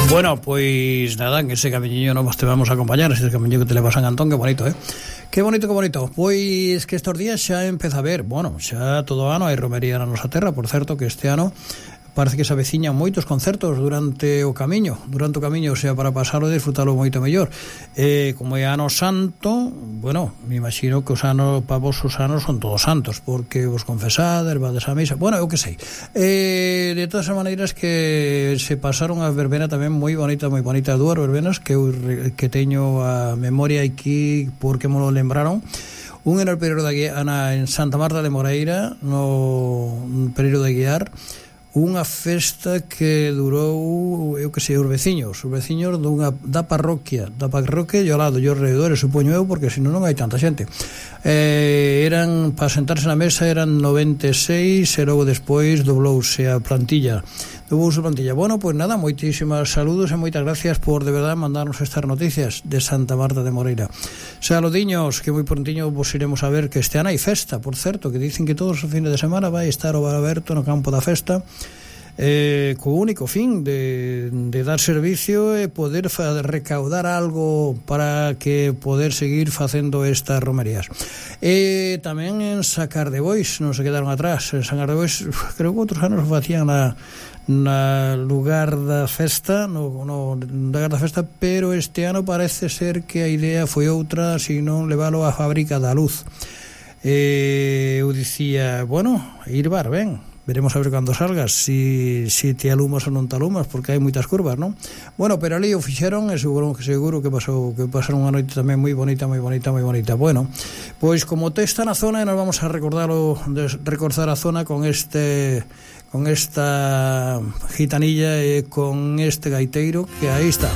Bueno, pois nada, en ese camiño nos te vamos a acompañar, ese camiño que te leva a San Antón, que bonito, Que bonito, que bonito. Pois que estes días xa empeza a ver, bueno, xa todo ano hai romería na nosa terra, por certo, que este ano parece que se aveciñan moitos concertos durante o camiño, o sea, para pasarlo e disfrutalo moito mellor. Como é ano santo, bueno, me imagino que os anos, para vos os anos son todos santos, porque vos confesades, vades a misa, bueno, eu que sei. De todas as maneiras que se pasaron a verbena tamén moi bonita, dúas verbenas que eu que teño a memoria aquí porque me lo lembraron. Un era o Pereiro da Guiar, en Santa Marta de Moreira, no Pereiro da Guiar, unha festa que durou, eu que sei, os veciños da parroquia e ao lado, e os redores, supoño eu, porque senón non hai tanta xente. Eran, para sentarse na mesa, eran 96, e logo despois doblouse a plantilla. Bueno, pois nada, moitísimas saludos e moitas gracias por, de verdade, mandarnos estas noticias de Santa Marta de Moreira. Saludiños, que moi prontiño vos iremos a ver, que este ano hai festa, por certo, que dicen que todos os fines de semana vai estar o bar aberto no campo da festa, co único fin de dar servicio e poder recaudar algo para que poder seguir facendo estas romerías. E tamén en Sacar de Bois, non se quedaron atrás. En Sacar de Bois, creo que outros anos facían na lugar da festa, no lugar da festa, pero este ano parece ser que a idea foi outra, senón levalo á Fábrica da Luz. Eu dicía, bueno, ir bar, ben, veremos a ver cando salgas, si te alumas ou non te alumas, porque hai moitas curvas, non? Bueno, pero ali o fixeron e seguro que pasaron unha noite tamén moi bonita. Bueno, pois como te está na zona, nos vamos a recordar a zona con esta gitanilla e con este gaiteiro que aí está.